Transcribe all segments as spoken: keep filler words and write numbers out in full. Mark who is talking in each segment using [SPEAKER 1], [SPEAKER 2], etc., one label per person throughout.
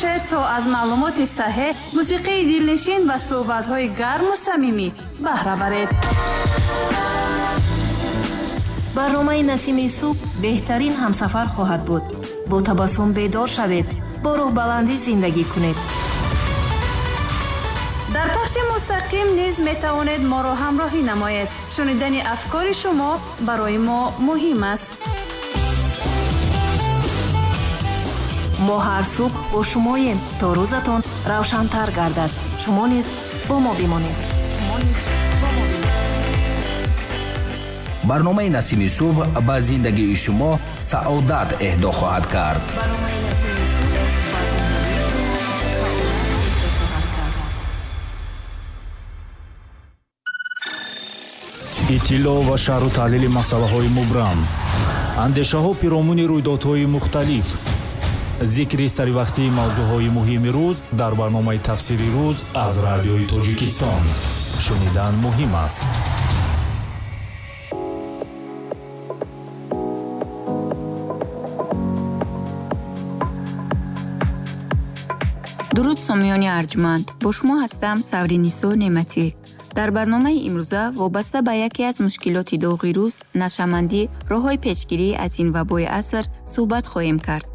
[SPEAKER 1] бошед то аз маълумоти саҳеҳ, мусиқии дилнишин ва суҳбатҳои гарму самимӣ баҳра баред.
[SPEAKER 2] Барномаи Насими субҳ беҳтарин ҳамсафар хоҳад буд. Бо табассум бедор шавед, бо рӯҳбаландӣ зиндагӣ кунед.
[SPEAKER 1] Дар пахши мустақим низ метавонед моро ҳамроҳӣ намоед. Шунидани афкори шумо барои мо муҳим аст.
[SPEAKER 2] Мо ҳар субҳ бо шумоем, то рӯзатон равшантар гардад. Шумо низ бо мо бимонед.
[SPEAKER 3] Барномаи Насими субҳ ба зиндагии шумо саодат эҳдо хоҳад кард.
[SPEAKER 4] Иттилоъ ва шарҳу таҳлили масъалаҳои мубрам, андешаҳо пиромуни рӯйдодҳои мухталиф, зикри саривақтии мавзӯъҳои муҳими рӯз дар барномаи Тафсири рӯз аз Радиои Тоҷикистон. Шунидан муҳим аст.
[SPEAKER 5] Дуруд, сомиёни арҷманд. Бо шумо ҳастам Савринисо Неъматӣ. Дар барномаи имрӯза вобаста ба яке аз мушкилоти доғи рӯз, нашъамандӣ, роҳҳои пешгирӣ аз ин вабои аср суҳбат хоҳем кард.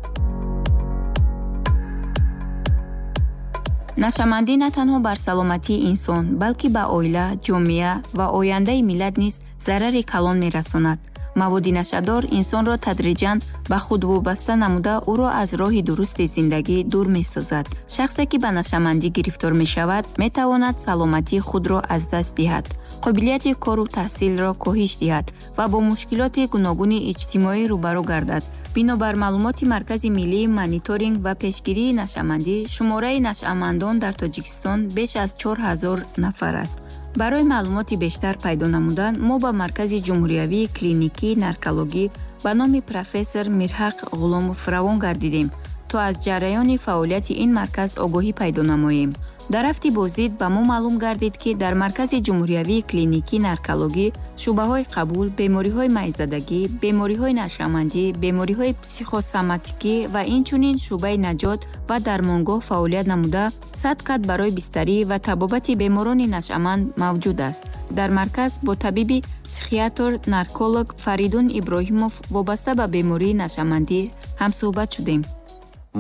[SPEAKER 5] Нашъамандӣ на танҳо бар саломатии инсон, балки ба оила, ҷомеа ва ояндаи миллат низ зарари калон мерасонад. Маводи нашъадор инсонро тадриҷан ба худ вобаста намуда ӯро аз роҳи дурусти зиндагӣ дур месозад. Шахсе, ки ба нашъамандӣ гирифтор мешавад, метавонад саломатии худро аз даст диҳад, қобилияти кору таҳсилро коҳиш диҳад ва бо мушкилоти гуногуни иҷтимоӣ рӯбарӯ гардад. Бинобар маълумоти Маркази миллии мониторинг ва пешгирии нашъамандӣ, шумораи нашъамандон дар Тоҷикистон беш аз чор ҳазор нафар аст. Барои маълумоти бештар пайдо намудан мо ба Маркази ҷумҳуриявии клиникии наркологӣ ба номи профессор Мирҳақ Ғуломов равон гардидем, то аз ҷараёни фаъолияти ин марказ огоҳӣ пайдо намоем. Дар рафти боздид ба мо маълум гардид, ки дар Маркази ҷумҳуриявии клиникии наркологӣ шӯъбаҳои қабул, бемориҳои майзадагӣ, бемориҳои нашъамандӣ, бемориҳои психосоматикӣ ва инчунин шӯъбаи наҷот ва дармонгоҳ фаъолият намуда, сад кат барои бистарӣ ва табобати беморони нашъаманд мавҷуд аст. Дар марказ бо табиби психиатр нарколог Фаридун Иброҳимов вобаста ба бемории нашъамандӣ ҳамсӯҳбат шудем.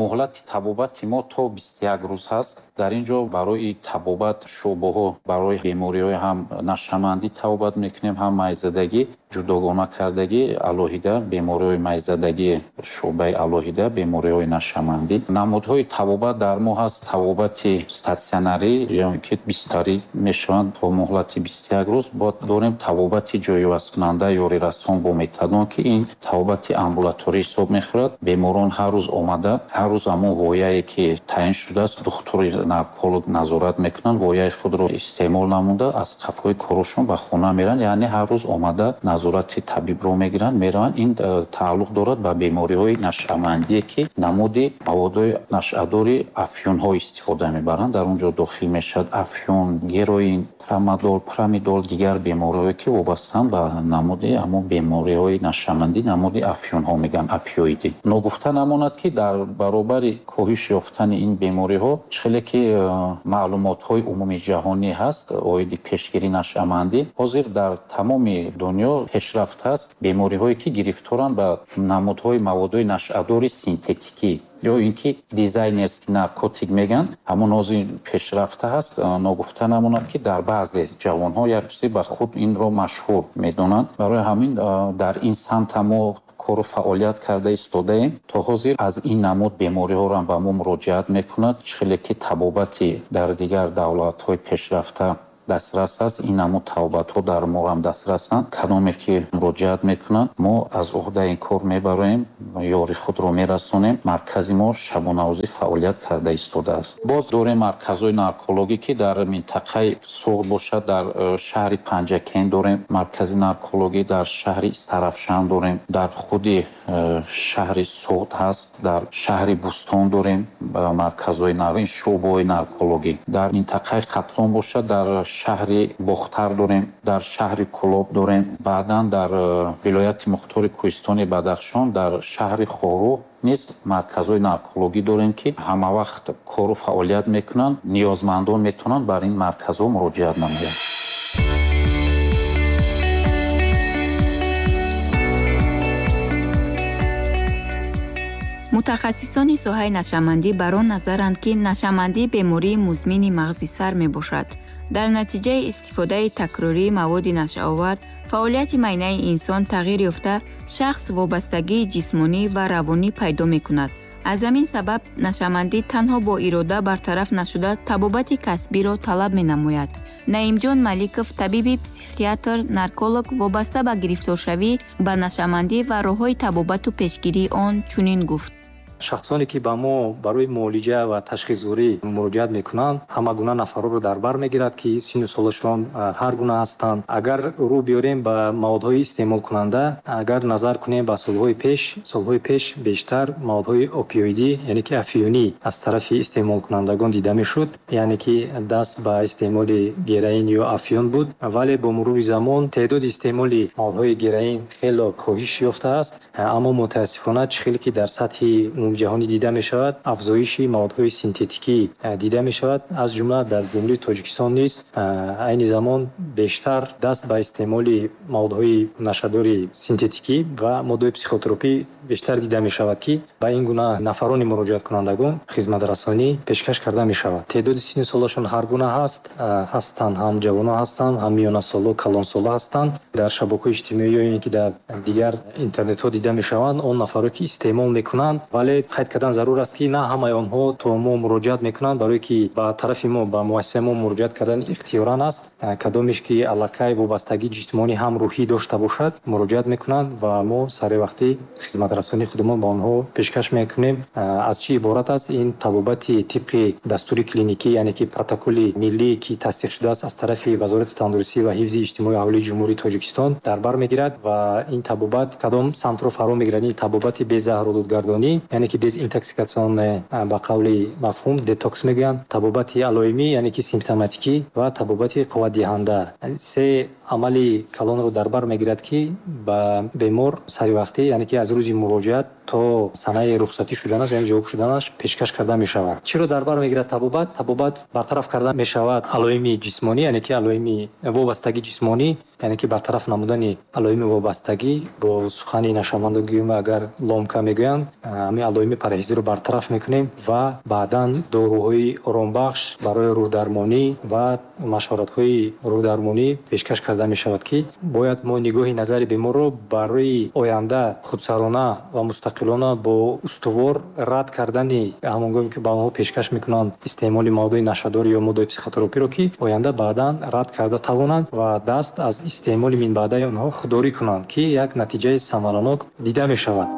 [SPEAKER 6] Муҳлати табобати мо то бисту як рӯз ҳаст. Дар ин ҷо барои табобат шӯъбаҳо барои бемориҳои ҳам нашъамандӣ табобат мекунем, ҳам майзадагӣ, ҷудогона кардагӣ алоҳида, бемориҳои майзадагӣ шӯъбаи алоҳида, бемориҳои нашъамандӣ. Намудҳои табобат дар мо ҳаст табобати статсионарӣ, ё ки бистарӣ мешаванд то муҳлати бисту як рӯз. Бояд дорем табобати ҷойивазкунанда ёрирасон бо метадон, ки ин табобати амбулаторӣ ҳисоб мехӯрад. Беморон ҳар рӯз омада, ҳар рӯз ҳамон вояе ки таъин шудааст, духтури нарколог назорат мекунанд, вояи худро истеъмол намуда аз қафои корашон ба хона мераванд. Яъне ҳар рӯз омада назорати табибро мегиранд, мераванд. Ин тааллуқ дорад ба бемориҳои нашъамандие, ки намуди маводҳои нашъадори афюнҳо истифода мебаранд. Дар он ҷо дохил мешавад афюн, героин, трамадол, прамидол, дигар бемориҳое ки вобастаанд ба намуди ҳамон бемориҳои нашъамандӣ, намуди афюнҳо мегӯянд, опиоидӣ. Ногуфта намонад, ки дар баробари коҳиш ёфтани ин бемориҳо, хеле ки маълумотҳои умумии ҷаҳонӣ ҳаст оиди пешгирии нашъамандӣ, ҳозир дар тамоми дунё пешрафт аст бемориҳое ки гирифторанд ба намудҳои маводҳои нашъадори синтетикӣ ё ин ки дизайнерский наркотик мегӯянд, ҳамон ҳозир пешрафта ҳаст. Ногуфта намонад, ки дар баъзе ҷавонҳо як чизе ба худ инро машҳур медонанд. Барои ҳамин дар ин самт мо кору фаъолият карда истодаем. То ҳозир аз ин намуд бемориҳоро ба мо муроҷиат мекунад. Хеле ки табобати дар дигар давлатҳои пешрафта дастрас аст, ин намуд табобатҳо дар мо ҳам дастрасанд. Кадоме ки муроҷиат мекунанд, мо аз уҳдаи ин кор мебароем, ёри худро мерасонем. Маркази мо шабонарӯзӣ фаъолият карда истодааст. Боз дорем марказҳои наркологӣ, ки дар минтақаи Суғд бошад, дар шаҳри Панҷакент дорем маркази наркологӣ, дар шаҳри Истарафшан дорем, дар худи шаҳри Суғд ҳаст, дар шаҳри Бӯстон дорем марказҳои навин, шӯъбаҳои наркологӣ. Дар минтақаи Хатлон бошад, дар шаҳри Бохтар дорем, дар шаҳри Кӯлоб дорем. Баъдан дар вилояти Мухтори Кӯҳистони Бадахшон дар шаҳри Хоруғ низ марказҳои наркологӣ дорем, ки ҳамавақт кору фаъолият мекунанд. Ниёзмандон метавонанд бар ин марказҳо муроҷиат намоянд.
[SPEAKER 5] Мутахассисони соҳаи нашъамандӣ бар он назаранд, ки нашъамандӣ бемории музмини мағзи сар мебошад. Дар натиҷаи истифодаи такрории маводи нашъаовар фаъолияти майнаи инсон тағйир ёфта, шахс вобастагии ҷисмонӣ ва равонӣ пайдо мекунад. Аз ҳамин сабаб нашъамандӣ танҳо бо ирода бартараф нашуда табобати касбиро талаб менамояд. Наимҷон Маликов, табиби психиатр, нарколог, вобаста ба гирифторшавӣ ба нашъамандӣ ва роҳҳои табобату пешгирии он чунин гуфт.
[SPEAKER 7] Шахсоне ки ба мо барои муолиҷа ва ташхисгузорӣ муроҷиат мекунанд, ҳама гуна нафарҳоро дар бар мегирад, ки синну солашон ҳар гуна ҳастанд. Агар рӯ биёрем ба маводҳои истеъмолкунанда, агар назар кунем ба солҳои пеш, солҳои пеш бештар маводҳои опиоидӣ, яъне ки афиюнӣ аз тарафи истеъмолкунандагон дида мешуд, яъне ки даст ба истеъмоли героин ё афиюн буд. Вале бо мурури замон теъдоди истеъмоли маводҳои героин хело коҳиш ёфтааст, аммо мутаассифона чӣ хеле ки дар сатҳи ҷаҳонӣ дида мешавад, афзоиши маводҳои синтетикӣ дида мешавад, аз ҷумла дар Ҷумҳурии Тоҷикистон низ айни замон бештар даст ба истеъмоли маводҳои нашъадори синтетикӣ ва моддаҳои психотропӣ бештар дида мешавад, ки ба ин гуна нафарони муроҷиаткунандагон хизматрасонӣ пешкаш карда мешавад. Теъдоди синну солашон ҳар гуна ҳаст, ҳастанд ҳам ҷавонон ҳастанд, ҳам миёнасоло, калонсоло ҳастанд. Дар шабакаҳои иҷтимоӣ ё ин ки дар дигар интернетҳо дида мешаванд он нафаро ки истеъмол мекунанд, вале қайд кардан зарур аст, ки на ҳамаи онҳо то мо муроҷиат мекунанд, барое ки ба тарафи мо, ба муассисаи мо муроҷиат кардан ихтиёран аст. Кадомеш ки аллакай вобастагии ҷисмонӣ ҳам рӯҳӣ дошта бошад, муроҷиат мекунанд ва мо саривақтӣ хизматрасонии худамон ба онҳо пешкаш мекунем. Аз чӣ иборат аст ин табобати тибқи дастури клиникӣ, яъне ки протоколи миллӣ, ки тасдиқ шудааст аз тарафи Вазорати тандурустӣ ва ҳифзи иҷтимоии аҳолии Ҷумҳурии Тоҷикистон дар бар мегирад ва ин табобат кадом самтро фаро мегирад? Ин табобати безаҳролудгардонӣ, яъне ки дезинтоксикатсионне, ба қавли мафҳум детокс мегӯянд, табобати алоимӣ, яъне ки симптоматикӣ ва табобати қувватдиҳанда. Се амали калонро дар бар мегирад, ки ба бемор саривақтӣ, яъне ки аз рӯзи муроҷиат то санаи рухсатӣ шуданаш, яъне ҷавоб шуданаш пешкаш карда мешавад. Чиро дар бар мегирад табобат? Табобат бартараф карда мешавад алоими ҷисмонӣ, яъне ки алоими вобастагии ҷисмонӣ, яъне ки бартараф намудани алоими вобастагӣ. Бо сухани нашъамандон гӯем, агар ломка мегӯянд, ҳамин алоими параҳизиро бартараф мекунем ва баъдан доруҳои оромбахш барои рӯҳдармонӣ ва машваратҳои рӯҳдармонӣ пешкаш карда мешавад, ки бояд мо нигоҳи назари беморро барои оянда худсарона ва мустақилона бо устувор рад кардани ҳамон гоҳе ки ба онҳо пешкаш мекунанд истеъмоли маводҳои нашъадор ё моддаҳои психотропиро, ки оянда баъдан рад карда тавонанд ва даст аз истеъмоли минбаъдаи онҳо худдорӣ кунанд, ки як натиҷаи самаранок дида мешавад.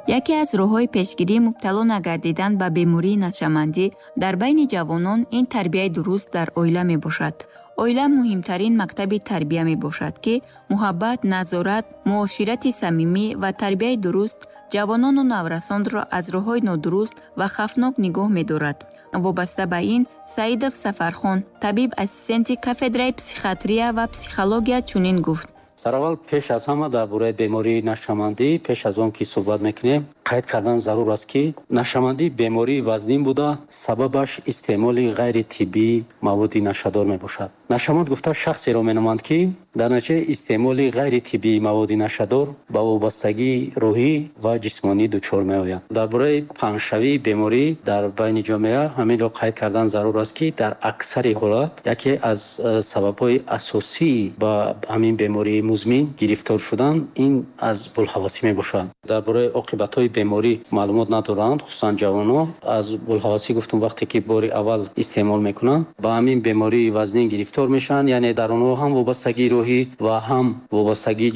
[SPEAKER 5] Яке аз роҳҳои пешгирии мубтало нагардидан ба бемории нашъамандӣ дар байни ҷавонон ин тарбияи дуруст дар оила мебошад. Оила муҳимтарин мактаби тарбия мебошад, ки муҳаббат, назорат, муоширати самимӣ ва тарбияи дуруст ҷавонону наврасонро аз роҳҳои нодуруст ва хавфнок нигоҳ медорад. Вобаста ба ин, Саидов Сафархон, табиб ассистенти кафедраи психиатрия ва психология чунин гуфт.
[SPEAKER 8] Сараввал пеш аз ҳама дар бораи бемории нашъамандӣ пеш аз он ки суҳбат мекунем, қайд кардан зарур аст, ки нашъамандӣ бемории вазнин буда, сабабаш истеъмоли ғайритиббии маводи нашъадор мебошад. Нашъаманд гуфта шахсеро меноманд, ки дар натиҷаи истеъмоли ғайритиббии маводи нашъадор ба вобастагии рӯҳӣ ва ҷисмонӣ дучор меояд. Дар бораи паҳншавии беморӣ дар байни ҷомеа ҳаминро қайд кардан зарур аст, ки дар аксари ҳолат яке аз сабабҳои асосии ба ҳамин бемории музмин гирифтор шудан ин аз булҳавасӣ мебошад. Дар бораи оқибатҳои беморӣ маълумот надоранд, хусусан ҷавонон. Аз булҳавасӣ гуфтум, вақте ки бори аввал истеъмол мекунанд, ба ҳамин бемории вазнин гирифтор мешаванд, яъне дар онҳо ҳам вобастагии рӯҳӣ ва ҳам вобастагии